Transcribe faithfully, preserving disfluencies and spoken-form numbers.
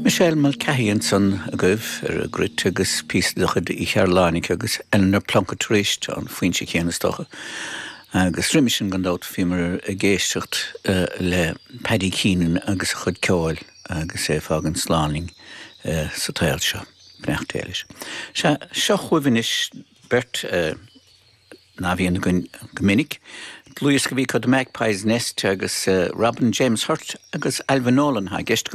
Michelle Mulcahy ansan agaibh ar an gcruit agus píosa de chuid Uí Chearláinic agus Eleanor Plunkett arís an foinse céanna is dócha. Agus roimhe sin gan dabht bhíomar ag éisteacht uh, le Paddy Keenan agus a chuid ceoil agus é ag fágaint slán linn uh, sa tsaol seo beannacht Dé leis. Se seo chugaibh anois beirt uh, ná bhíonn go minic. Dlúthdhiosca a bhí The Magpie's Nest agus uh, Robin James Hurt agus Alvin Nolan ha gceist